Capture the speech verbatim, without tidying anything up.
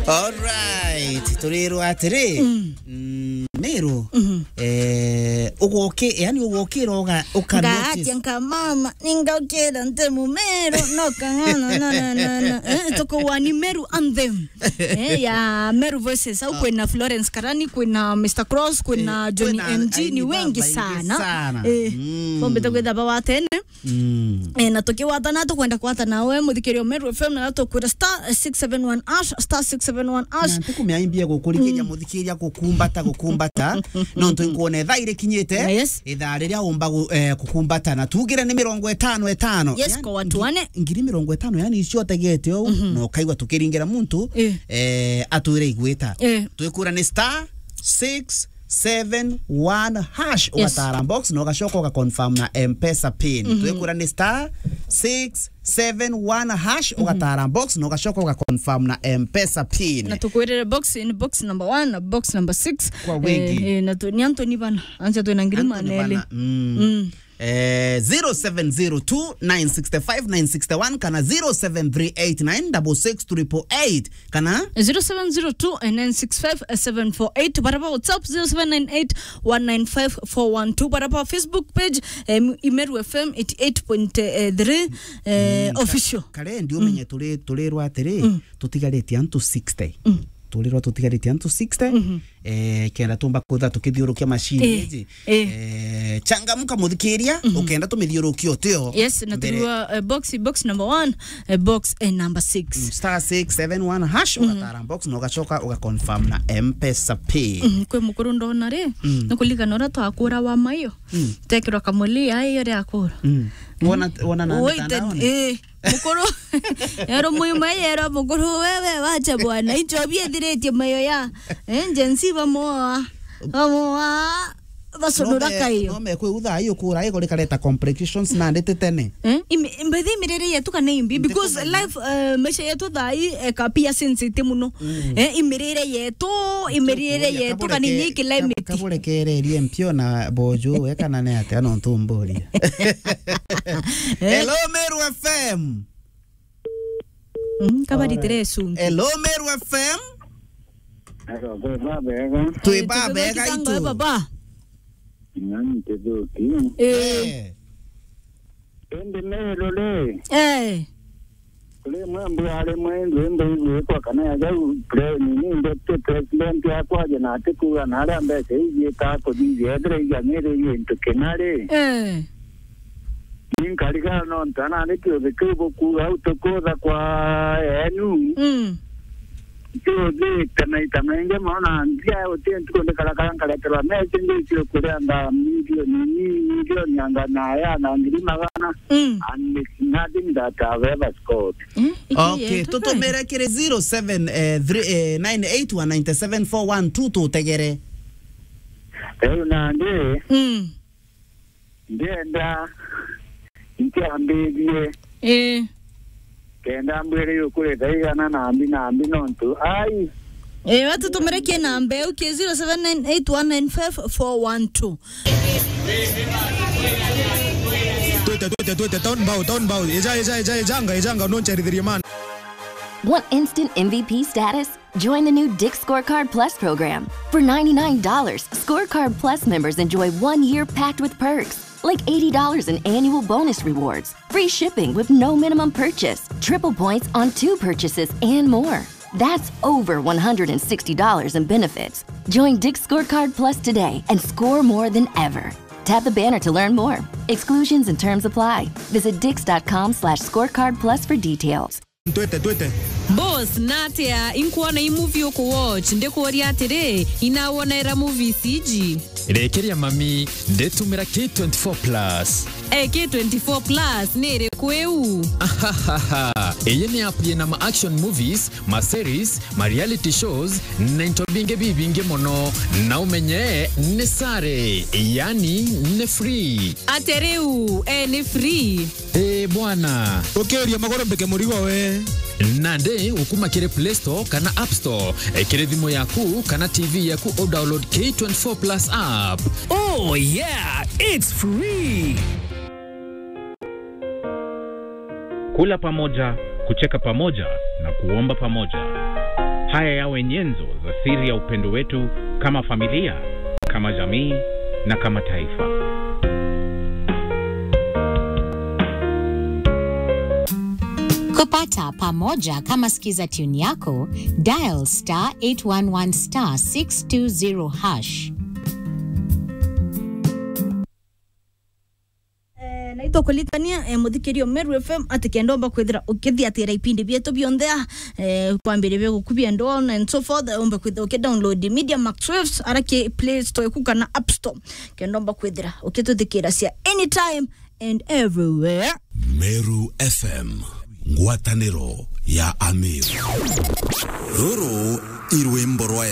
Alright, turirwa atiri, mm, Meru, eh, ugoki-, yani ugokira uga-, uka notice. Ngaatia nka mama, ningaukira nti Mumeru, no kang'ana, no, no, no, no. Eh, tukuwa ni Meru anthem. Eh, ya Meru Voices, au kwina Florence Karani, kwina Mister Cross, kwina Johnny M G, ni wengi sana. Eh, bombete kwitha bawatene. Mm. Eh, na tukiwatana, tukwenda kwatana we muthikiria Meru F M, na tukwira star six seven one hash, star six seven one hash. Na ntikumia imbia gukurikiria muthikiria gukumbata, gukumbata. Nontu nkuona ithaa irikinyite, yes, ithaa riria umba gu-, eh, gukumbata. Na tugire ni mirongo itano itano. Yes, yani kwa watu wane. Ngiri mirongo itano, yani icio utegete ou, na ukaigua tukiringira muntu, eh, atwire igwita. Eh. Twikura ni star six seven one hash, yes, ugatara box na ugacoka uga confirm na M-Pesa pin. Twikura ni star six seven one hash, ugatara box na ugacoka uga confirm na M-Pesa pin. Na tukwirire box in box number one na box number six. Kwa wingi. Eh, eh, na tu-, ni antu ni bana. Ancha twina ngiri maneli. Mm. Eh, zero seven zero two nine six five nine six one kana zero seven three eight nine six six triple eight. Kana? Zero seven zero two nine six five seven four eight. Bara ba WhatsApp, zero seven nine eight one nine five four one two. Bara ba Facebook page, em, Imeru F M eighty eight point three, eh, mm, ka-, official. Kare ndi umenye turi, turirwa atiri, tutigaritie antu sixty. Mm. Turirwa tutigaritie antu sixty. Eh, kenda tumba kwitha tukithiurukia machine iji. Eh. Eh, changamka muthikiria, ukenda tumithiurukie utio. Yes, na mbere turua, eh, box, box number one, eh, box, eh, number six. Mm, star six seven one hash, ugatara box na ugacoka uga confirm na M-Pesa pin. Mm, kwi mukuru ndona ri, nukuligana uria twakura wa maio. Tekirwa kamuli, ai, uria akura. Mm. Wona, wona na mitandaoni? Eh, mukuru. Yero muima yero mukuru, wewe wacha bwana. Icho biethiritie mayo ya. Eh, Gen Z bamoa. Bamoa. Basunura kayo. No me kwe utha ayo kura, ayo kore kareta complications na ndete tene. Eh, imi-, mbethi imirire yetu kana imbi? Because life, eh, maisha yetu thaa ii, eh, kapia sensitive muno. Eh, imirire yetu, imirire yetu kana inya climate. Kaburekererie mpio na bojo, we kana ne atia no ntumburia. Hello, Meru F M. Mm, kabaritire sungi. Hello, Meru F M. Hello, kwi babega. Twi babega itu. Baba. Nani tedoki? Eh. Eh. Indi Meru ri. Eh. Kuri imwe mbwari imwe indwimbo igwikwa kana ya jau pre-, nini, deputy president akwaria na atikuuga na aria mbeca iu igwitaga kuthithia, ethira igang'iririe into kina ri. Eh. Ni nkarigara nontu anandi kiuthi kiu bukuuga au tukuutha kwa enu. Mm. Ntiuthite maita maingi mono na nthia guti ntuku ndikarakara nkareterwa message ndio kuria nga milioni ni milioni anga na ya na ngiri magana. Mm. And it's nothing that I've ever scored. Eh, iki okay, yetu tutumire kiri zero seven, eh, three, eh, nine eight one nine seven four one two tutegere. Riu nandi, mm, ndienda nkiambirie. Eh. Kenda mbwire yukurita igana nambi nambi nontu. Ai. Eh, watu tumerekie namba eu ki zero seven nine eight one nine five four one two. Twete, twete, twete, town bow, town bow. Eja, eja, eja, ejanga, ejanga, no ncherithirie man. Want instant M V P status? Join the new Dick's Scorecard Plus program. For ninety-nine dollars, Scorecard Plus members enjoy one year packed with perks, like eighty dollars in annual bonus rewards, free shipping with no minimum purchase, triple points on two purchases, and more. That's over one hundred and sixty dollars in benefits. Join Dick's Scorecard Plus today and score more than ever. Tap the banner to learn more. Exclusions and terms apply. Visit dicks.com slash scorecard plus for details. Twete, twete. Boss, natia inkuona i movie uku watch? Ndikuuria atiri, inawonaira movies iji? Rekeria mami, nditumira K twenty-four plus. Eh, K twenty-four plus ni iriku iu? Ahahaha. Iyi ni app yina ma action movies, ma series, ma reality shows, na into bingi bibingi mono. Na umenye ni sare, yani ni free. Atia riu, eh, ni free? Ii bwana. Ukiuria maguru mbike murigo we. Nandi ukuma kiri Play Store kana App Store, eh, kiri thimu yaku kana T V yaku u download K twenty-four plus app. Oh yeah, it's free. Kula pamoja, kucheka pamoja na kuomba pamoja. Haya yawe nyenzo za siri ya upendo wetu kama familia, kama jamii na kama taifa. Kupata pamoja kama sikiza tune yako, dial star eight one one star six two zero hash. Eh, na itukuritania, eh, muthikiria Meru F M ati kenda umba kwithira ukithiatira ipindi bietu bionthe, eh, kwambiria bia gukubia and on and so forth, eh, umbe kwithira ukidownload Media Max Waves ara ki Play Store ku kana App Store, kenda umba kwithira ukituthikira cia anytime and everywhere. Meru F M, ngwataniro ya Ameru. Ruru i rwimbo rwa